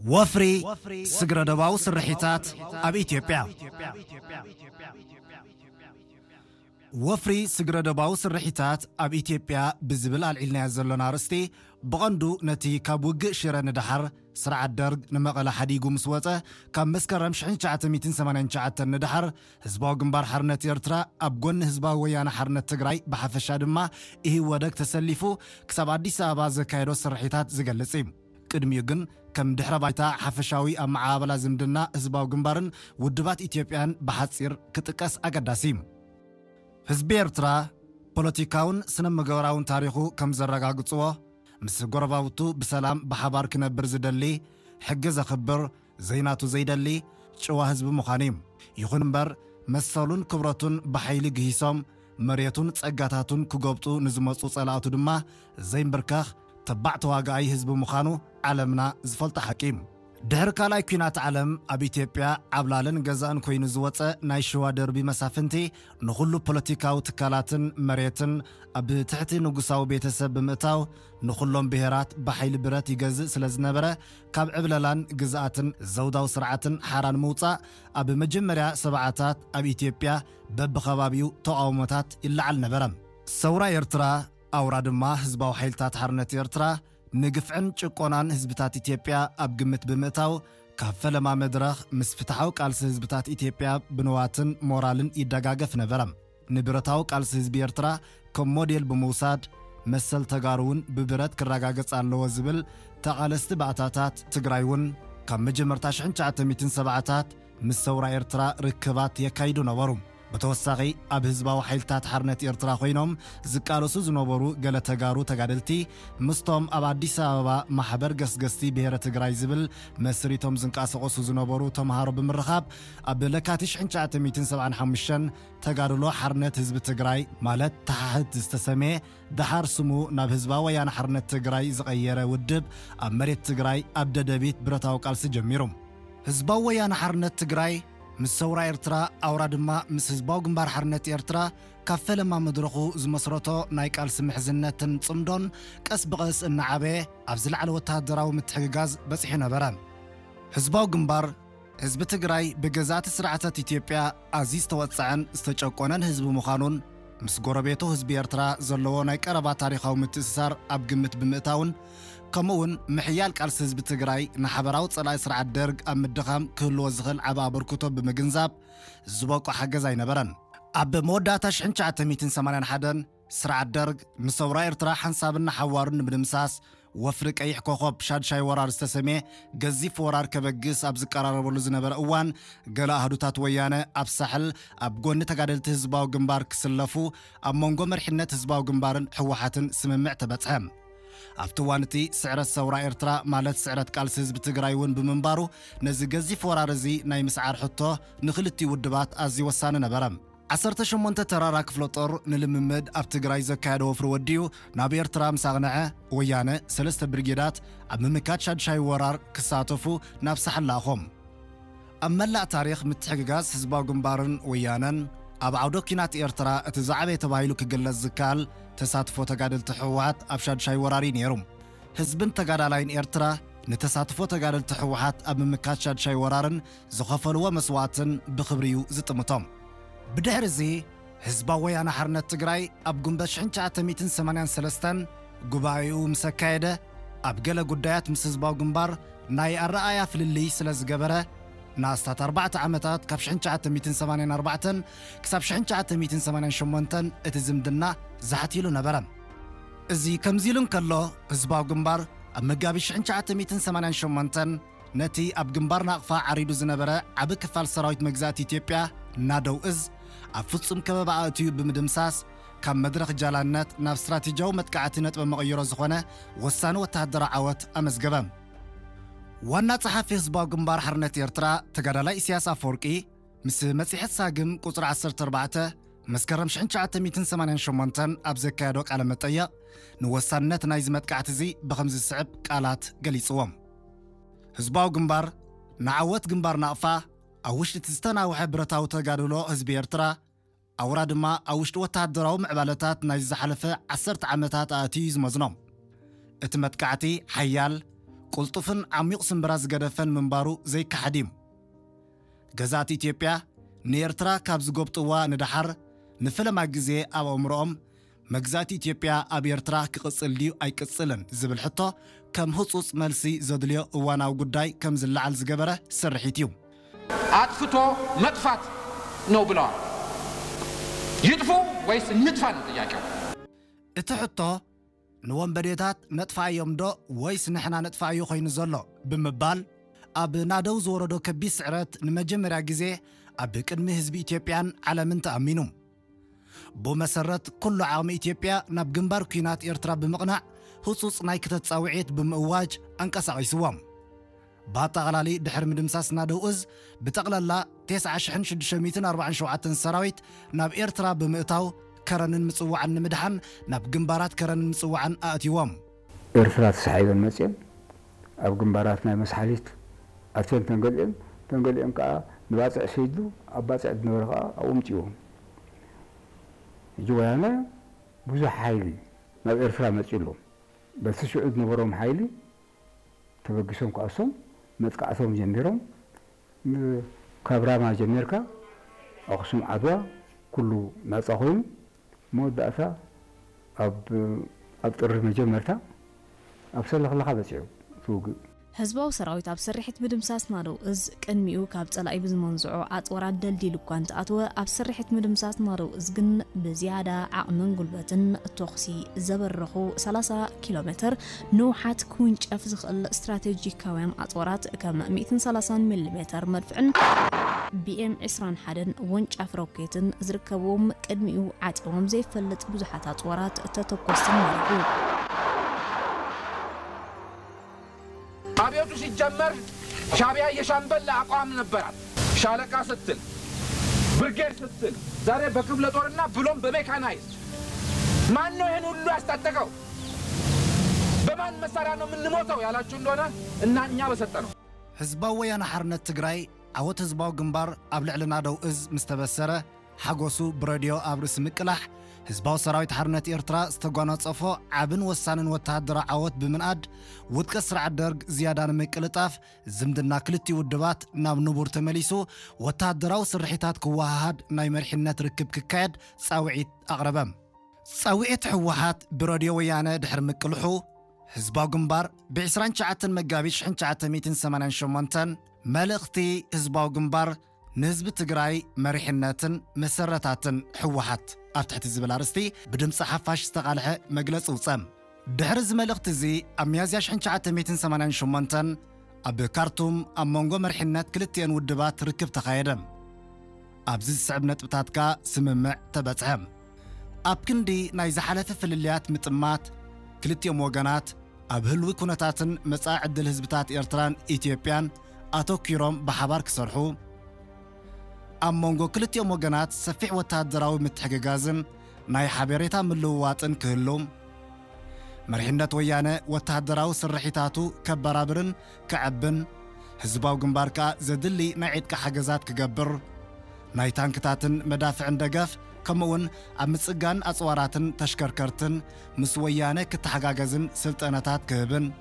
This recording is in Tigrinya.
ወፍሪ ስግረዶባዊ ስርሒታት ኣብ ኢትዮጵያ። ወፍሪ ስግረዶባዊ ስርሒታት ኣብ ኢትዮጵያ ብዝብል ኣልዒልናዮ ዘሎና ኣርእስቲ፣ ብቐንዱ ነቲ ካብ ውግእ ሽረ ንደሓር ስርዓት ደርግ ንመቐለ ሓዲጉ ምስ ወጸ፣ ካብ መስከረም ሽሕን ትሽዓተ ሚእትን ሰማንያን ትሽዓተን ንደሓር ህዝባዊ ግንባር ሓርነት ኤርትራ ኣብ ጎኒ ህዝባዊ ወያነ ሓርነት ትግራይ ብሓፈሻ ድማ ኢህወደግ ተሰሊፉ ክሳብ ኣዲስ ኣበባ ዘካየዶ ስርሒታት ዝገልጽ እዩ። ቅድሚኡ ግን ከም ድሕረ ባይታ ሓፈሻዊ ኣመዓባብላ ዝምድና ህዝባዊ ግንባርን ውድባት ኢትዮጵያን ብሓጺር ክጥቀስ ኣገዳሲ እዩ። ህዝቢ ኤርትራ ፖለቲካውን ስነ ምግባራውን ታሪኹ ከም ዘረጋግጽዎ፣ ምስ ጎረባብቱ ብሰላም ብሓባር ክነብር ዝደሊ፣ ሕጊ ዘኽብር፣ ዘይናቱ ዘይደሊ ጭዋ ህዝቢ ምዃኑ እዩ። ይኹን እምበር፣ መሰሉን ክብረቱን ብሓይሊ ግሂሶም፣ መሬቱን ጸጋታቱን ክጎብጡ ንዝመጹ ጸላእቱ ድማ ዘይምብርከኽ ተባዕ ተዋጋኣይ ህዝቢ ምዃኑ ዓለምና ዝፈልጦ ሓቂ እዩ። ድሕሪ ካልኣይ ኲናት ዓለም ኣብ ኢትዮጵያ ዓብላልን ገዛእን ኮይኑ ዝወጸ ናይ ሽዋ ደርቢ መሳፍንቲ ንኹሉ ፖለቲካዊ ትካላትን መሬትን ኣብ ትሕቲ ንጉሳዊ ቤተሰብ ብምእታው ንኹሎም ብሄራት ብሓይሊ ብረት ይገዝእ ስለ ዝነበረ ካብ ዕብለላን ግዝኣትን ዘውዳዊ ስርዓትን ሓራን ምውጻእ ኣብ መጀመርያ ሰብዓታት ኣብ ኢትዮጵያ በብኸባቢኡ ተቓውሞታት ይለዓል ነበረ። ሰውራ ኤርትራ ኣውራ ድማ ህዝባዊ ሓይልታት ሓርነት ኤርትራ ንግፍዕን ጭቆናን ህዝብታት ኢትዮጵያ ኣብ ግምት ብምእታው፣ ካብ ፈለማ መድረኽ ምስ ፍትሓዊ ቃልሲ ህዝብታት ኢትዮጵያ ብንዋትን ሞራልን ይደጋገፍ ነበረ። ንብረታዊ ቃልሲ ህዝቢ ኤርትራ ከም ሞዴል ብምውሳድ፣ መሰል ተጋሩ እውን ብብረት ክረጋገጽ ኣለዎ ዝብል ተቓለስቲ ባእታታት ትግራይ እውን ካብ መጀመርታ ሽሕን ትሽዓተ ሚእትን ሰብዓታት ምስ ሰውራ ኤርትራ ርክባት የካይዱ ነበሩ። ብተወሳኺ፣ ኣብ ህዝባዊ ሓይልታት ሓርነት ኤርትራ ኮይኖም ዝቃለሱ ዝነበሩ ገለ ተጋሩ ተጋደልቲ፣ ምስቶም ኣብ ኣዲስ ኣበባ ማሕበር ገስገስቲ ብሄረ ትግራይ ዝብል መስሪቶም ዝንቀሳቐሱ ዝነበሩ ተምሃሮ ብምርኻብ፣ ኣብ ለካቲት ሽሕን ትሽዓተ ሚእትን ሰብዓን ሓሙሽተን ተጋድሎ ሓርነት ህዝቢ ትግራይ፣ ማለት ተሓህት ዝተሰምየ፣ ደሓር ስሙ ናብ ህዝባዊ ወያነ ሓርነት ትግራይ ዝቐየረ ውድብ፣ ኣብ መሬት ትግራይ ኣብ ደደቢት ብረታዊ ቃልሲ ጀሚሩ። ህዝባዊ ወያነ ሓርነት ትግራይ ምስ ሰውራ ኤርትራ፣ ኣውራ ድማ ምስ ህዝባዊ ግንባር ሓርነት ኤርትራ፣ ካብ ፈለማ መድረኹ ዝመስረቶ ናይ ቃልሲ ምሕዝነትን ጽምዶን ቀስ ብቐስ እናዓበየ ኣብ ዝለዓለ ወተሃደራዊ ምትሕግጋዝ በጺሑ ነበረ። ህዝባዊ ግንባር፣ ህዝቢ ትግራይ ብገዛእቲ ስርዓታት ኢትዮጵያ ኣዝዩ ዝተወጽዐን ዝተጨቆነን ህዝቢ ምዃኑን፣ ምስ ጎረቤቱ ህዝቢ ኤርትራ ዘለዎ ናይ ቀረባ ታሪኻዊ ምትእስሳር ኣብ ግምት ብምእታውን፣ ከምኡ'ውን ምሕያል ቃልሲ ህዝቢ ትግራይ ንሓበራዊ ጸላኢ ስርዓት ደርግ ኣብ ምድኻም ክህልዎ ዝኽእል ዓቢ ኣበርክቶ ብምግንዛብ ዝበቆ ሓገዝ ኣይነበረን። ኣብ መወዳእታ ሽሕን ትሽዓተ ሚእትን ሰማንያን ሓደን ስርዓት ደርግ ንሰውራ ኤርትራ ሓንሳብን ንሓዋሩን ንምድምሳስ ወፍሪ ቀይሕ ኮኾብ ሻድሻይ ወራር ዝተሰምየ ገዚፍ ወራር ከበግስ ኣብ ዝቀራረበሉ ዝነበረ እዋን፣ ገለ ኣህዱታት ወያነ ኣብ ሳሕል ኣብ ጎኒ ተጋደልቲ ህዝባዊ ግንባር ክስለፉ ኣብ መንጎ መሪሕነት ህዝባዊ ግንባርን ህወሓትን ስምምዕ ተበጽሐ። ኣብቲ እዋን እቲ ስዕረት ሰውራ ኤርትራ፣ ማለት ስዕረት ቃልሲ ህዝቢ ትግራይ እውን ብምንባሩ፣ ነዚ ገዚፍ ወራር እዚ ናይ ምስዓር ሕቶ ንክልቲኡ ውድባት ኣዝዩ ወሳኒ ነበረ። ዓሰርተ ሸሞንተ ተራራ ክፍለ ጦር ንልምምድ ኣብ ትግራይ ዘካየዶ ወፍሪ ወዲኡ ናብ ኤርትራ ምስ ኣቕንዐ፣ ወያነ ሰለስተ ብርጌዳት ኣብ ምምካት ሻድሻይ ወራር ክሳተፉ ናብ ሳሕል ለኣኾም። ኣብ መላእ ታሪኽ ምትሕግጋዝ ህዝባዊ ግንባርን ወያነን፣ ኣብ ዓውደ ኲናት ኤርትራ እቲ ዝዓበየ ተባሂሉ ክግለጽ ዝከኣል ተሳትፎ ተጋደልቲ ህወሓት ኣብ ሻድሻይ ወራር እዩ ነይሩ። ህዝብን ተጋዳላይን ኤርትራ ንተሳትፎ ተጋደልቲ ህወሓት ኣብ ምምካት ሻድሻይ ወራርን ዝኸፈልዎ መስዋእትን ብኽብሪ እዩ ዝጥምቶም። ብድሕሪ እዚ፣ ህዝባዊ ወያነ ሓርነት ትግራይ ኣብ ጉንበት ሽሕን ትሽዓተ ሚእትን ሰማንያን ሰለስተን ጉባኤኡ ምስ ኣካየደ፣ ኣብ ገለ ጉዳያት ምስ ህዝባዊ ግንባር ናይ ኣረኣእያ ፍልልይ ስለ ዝገበረ፣ ንኣስታት ኣርባዕተ ዓመታት፣ ካብ ሽሕን ትሽዓተ ሚእትን ሰማንያን ኣርባዕተን ክሳብ ሽሕን ትሽዓተ ሚእትን ሰማንያን ሸሞንተን፣ እቲ ዝምድና ዛሕት ኢሉ ነበረ። እዚ ከምዚ ኢሉ እንከሎ፣ ህዝባዊ ግንባር ኣብ መጋቢት ሽሕን ትሽዓተ ሚእትን ሰማንያን ሸሞንተን ነቲ ኣብ ግንባር ናቕፋ ዓሪዱ ዝነበረ ዓቢ ክፋል ሰራዊት መግዛእቲ ኢትዮጵያ፣ ናደው እዝ፣ ኣብ ፍጹም ከበባ ኣእትዩ ብምድምሳስ፣ ካብ መድረኽ ጃላነት ናብ ስትራቴጂያዊ መጥቃዕቲ ነጥበ መቐይሮ ዝኾነ ወሳኒ ወተሃደራዊ ዓወት ኣመዝገበ። ዋና ጸሓፊ ህዝባዊ ግንባር ሓርነት ኤርትራ ተጋዳላይ ኢሳያስ ኣፈወርቂ፣ ምስ መጽሔት ሳግም ቁጽሪ ዓሰርተ ኣርባዕተ፣ መስከረም ሽሕን ትሽዓተ ሚእትን ሰማንያን ሸሞንተን ኣብ ዘካየዶ ቃለ መጠይቕ፣ ንወሳንነት ናይዚ መጥቃዕቲ እዚ ብኸምዚ ዝስዕብ ቃላት ገሊጽዎ። ህዝባዊ ግንባር ንዓወት ግንባር ናቕፋ፣ ኣብ ውሽጢ እቲ ዝተናውሐ ብረታዊ ተጋድሎ ህዝቢ ኤርትራ፣ ኣውራ ድማ ኣብ ውሽጢ ወተሃደራዊ ምዕባለታት ናይ ዝሓለፈ ዓሰርተ ዓመታት ኣእትዩ እዩ ዝመዝኖ። እቲ መጥቃዕቲ ሓያል፣ ቅልጡፍን ዓሚቕ ስምብራ ዝገደፈን ምንባሩ ዘይከሓድ እዩ። ገዛእቲ ኢትዮጵያ ንኤርትራ ካብ ዝጎብጥዋ ንደሓር፣ ንፈለማ ግዜ ኣብ ኣእምሮኦም መግዛእቲ ኢትዮጵያ ኣብ ኤርትራ ክቕጽል ድዩ ኣይቅጽልን ዝብል ሕቶ ከም ህጹጽ መልሲ ዘድልዮ እዋናዊ ጉዳይ ከም ዝለዓል ዝገበረ ስርሒት እዩ። ኣጥፍቶ መጥፋት ነው ብለዋል። ይጥፉ ወይስ እንጥፋ ነው ጥያቄው። እቲ ሕቶ ንወንበዴታት ነጥፋኣዮም ዶ ወይስ ንሕና ነጥፋኣዮ ኮይኑ ዘሎ ብምባል ኣብ ናደው ዝወረዶ ከቢድ ስዕረት ንመጀመርያ ግዜ ኣብ ቅድሚ ህዝቢ ኢትዮጵያን ዓለምን ተኣሚኑ። ብኡ መሰረት ኩሉ ዓቕሚ ኢትዮጵያ ናብ ግንባር ኲናት ኤርትራ ብምቕናዕ ህጹጽ ናይ ክተት ጻውዒት ብምእዋጅ ኣንቀሳቒስዎም። ብኣጠቓላሊ ድሕሪ ምድምሳስ ናደው እዝ ብጠቕላላ ተስዓ ሽሕን ሽዱሽተ ሚእትን ኣርባዓን ሸውዓተን ሰራዊት ናብ ኤርትራ ብምእታው ከረንን ምጽዋዕን ንምድሓን ናብ ግንባራት ከረንን ምጽዋዕን ኣእትይዎም። ኤርትራ ተሳሒበን መጺኦም ኣብ ግንባራት ናይ መስሓሊት ኣትየን ተንገሊኦም ተንገሊኦም ከዓ ንባፅዕ ሰይዱ ኣብ ባፅዕ ዝነበረ ከዓ ኣብኡ ምፅዎም። ሕጂ ወያነ ብዙሕ ሓይሊ ናብ ኤርትራ መፂኡ ኣሎ። በቲ ሽዑ ዝነበሮም ሓይሊ ተበጊሶም ክኣሶም መጥቃዕቶም ጀሚሮም። ካብ ራማ ጀሚርካ ኣኽሱም ዓድዋ ኩሉ ናፃ ኮይኑ መወዳእታ ኣብ ኣብ ጥሪ መጀመርታ ኣብ ሰለኽለኻ በፂሑ ትውግእ። ህዝባዊ ሰራዊት ኣብ ስርሒት ምድምሳስ ናደው እዝ ቅድሚኡ ካብ ጸላኢ ብዝመንዝዖ ኣጽዋራት ደልዲሉ እኳ እንተኣተወ፣ ኣብ ስርሒት ምድምሳስ ናደው እዝ ግን ብዝያዳ ዓቕምን ጉልበትን ተኹሲ ዘበረኹ ሰላሳ ኪሎ ሜትር ንውሓት ክውንጨፍ ዝኽእል ስትራቴጂካውያን ኣጽዋራት ከም ሚእትን ሰላሳን ሚሊ ሜተር መድፍዕን ቢኤም ዕስራን ሓደን ወንጫፍ ሮኬትን ዝርከብዎም ቅድሚኡ ዓጺዎም ዘይፈልጥ ብዙሓት ኣጽዋራት ተተኮስትን ማሪኹ። አብዮቱ ሲጀመር ሻዕቢያ የሻምበል አቋም ነበራት። ሻለቃ ስትል ብርጌድ ስትል ዛሬ በክፍለ ጦርና ብሎም በሜካናይዝድ ማን ነው ይህን ሁሉ ያስታጠቀው? በማን መሳሪያ ነው የምንሞተው ያላችሁ እንደሆነ እና እኛ በሰጠነው ህዝባዊ ወያነ ሓርነት ትግራይ ዓወት ህዝባዊ ግንባር ኣብ ልዕሊ ናደው እዝ ምስ ተበሰረ ሓጎሱ ብረድዮ ኣብ ርእሲ ምቅላሕ ህዝባዊ ሰራዊት ሓርነት ኤርትራ ዝተጓናጸፎ ዓብን ወሳንን ወተሃደራዊ ዓወት ብምንኣድ ውድቀት ስርዓት ደርግ ዝያዳ ንምቅልጣፍ ዝምድና ክልቲኡ ውድባት ናብ ንቡር ተመሊሱ ወተሃደራዊ ስርሒታት ክወሃሃድ ናይ መሪሕነት ርክብ ክካየድ ጻውዒት ኣቕረበ። ጻውዒት ህወሓት ብረድዮ ወያነ ድሕሪ ምቅልሑ ህዝባዊ ግንባር ብ ዕስራን ትሽዓተን መጋቢት ሽሕን ትሽዓተ ሚእትን ሰማንያን ሸሞንተን መልእኽቲ ህዝባዊ ግንባር ንህዝቢ ትግራይ መሪሕነትን መሰረታትን ህወሓት ኣብ ትሕቲ ዝብል ኣርእስቲ ብድምፂ ሓፋሽ ዝተቓልሐ መግለፂ ውፀ። ድሕሪ እዚ መልእኽቲ እዚ ኣብ ሚያዝያ ሽሕን ትሽዓተ ሚእትን ሰማንያን ሸሞንተን ኣብ ካርቱም ኣብ መንጎ መሪሕነት ክልቲኤን ውድባት ርክብ ተኻየደ። ኣብዚ ዝስዕብ ነጥብታት ከኣ ስምምዕ ተበጽሐ። ኣብ ክንዲ ናይ ዝሓለፈ ፍልልያት ምጥማት፣ ክልቲኦም ወገናት ኣብ ህልዊ ኩነታትን መጻኢ ዕድል ህዝብታት ኤርትራን ኢትዮጵያን ኣተኲሮም ብሓባር ክሰርሑ፣ ኣብ መንጎ ክልቲኦም ወገናት ሰፊሕ ወተሃደራዊ ምትሕግጋዝን ናይ ሓበሬታ ምልውዋጥን ክህሉ፣ መሪሕነት ወያነ ወተሃደራዊ ስርሒታቱ ከበራብርን ከዕብን፣ ህዝባዊ ግንባር ከኣ ዘድሊ ናይ ዕጥቂ ሓገዛት ክገብር፣ ናይ ታንክታትን መዳፍዕን ደገፍ፣ ከምኡውን ኣብ ምጽጋን ኣጽዋራትን ተሽከርከርትን ምስ ወያነ ክተሓጋገዝን ስልጠናታት ክህብን፣